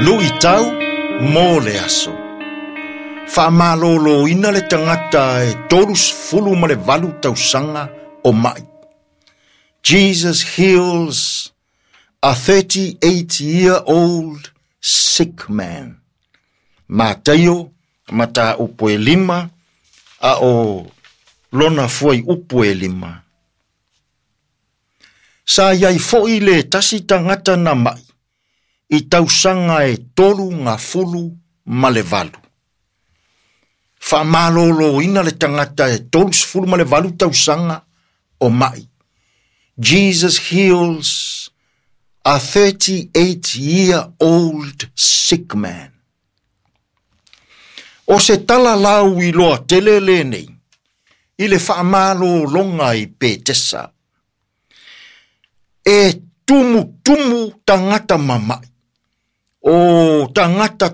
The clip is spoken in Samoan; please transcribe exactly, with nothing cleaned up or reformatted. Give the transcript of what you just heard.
Luʻitau mo le aso. Faamalōlōina le tagata e tolusefulu ma le valu tausaga o maʻi. Jesus heals a thirty-eight year old sick man. Mataio mataupu e lima a o lona fuaiupu e lima. Sa iai foʻi le tasi tagata na maʻi i tausaga e tolu gafulu ma le valu. Faamalōlōina le tagata e tolusefulu ma le valu tausaga o maʻi. Jesus heals a thirty-eight year old sick man. O se tala lauiloa tele lenei i le faamalōloga i Petesa. E tumutumu tagata mamaʻi o tagata.